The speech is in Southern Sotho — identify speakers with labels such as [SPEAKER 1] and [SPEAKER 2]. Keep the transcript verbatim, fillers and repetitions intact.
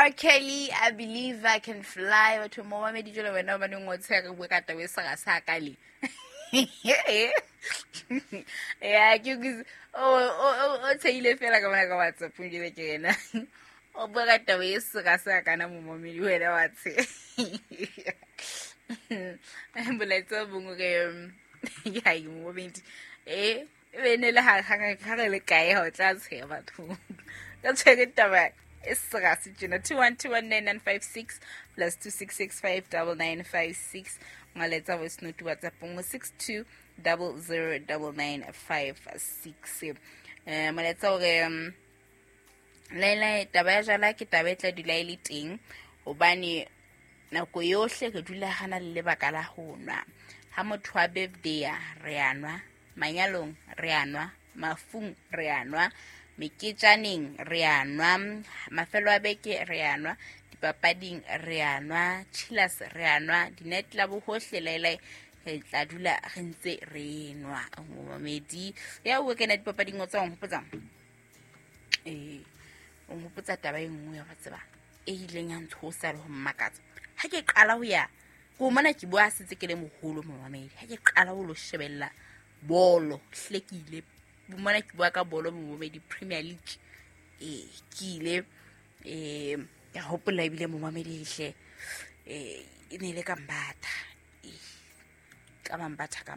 [SPEAKER 1] R. Kelly, I Believe I Can Fly. Batho mo mamedi jwale wena o baneng o tsheya re bua ka taba e sera sa ka le. Ya ke ke o o o tshehile fela ka mona ka WhatsApp njele ke yena. O bua ka taba e sera sa kana mo mamedi wena wa tshe. Molaetsa o bongwe re ya mo mamedi. Eh e ne le ha ha ha re le kae ha o tla tsheya batho. Ka tshwere taba e sera se tjena two one two one nine nine five six plus two six six five double nine five six molaetsa voice note WhatsApp nngwe six two double zero double nine five six. Eh molaetsa hore um, Laila taba ya jala ke taba e tla dula e le teng hobane nako yohle re dula hana le lebaka la ho nwa. Ha motho a birthday re a nwa, manyalong re a nwa, mafung re a nwa, meketjaneng re a nwa, mafelo a beke re a nwa, dipapading re a nwa, chillers re a nwa, di-night club hohle Laila re tla dula re ntse re nwa. Momamedi ya o kena dipapading o tswa o nkgopotsa eh o nkgopotsa taba e nngwe ya wa tseba e ileng ya ntshosa le ho mmakatsa. Ha ke qala ho ya ko mona ke bua sentse ke le moholo momamedi. Ha ke qala ho lo shebella bolo hle ke ile mona ke bua ka bolo momamedi Premier League. Eh ke ile eh ka hopola ebile momamedi hle eh e ne le ka Mbatha. Eh ka Mbatha ka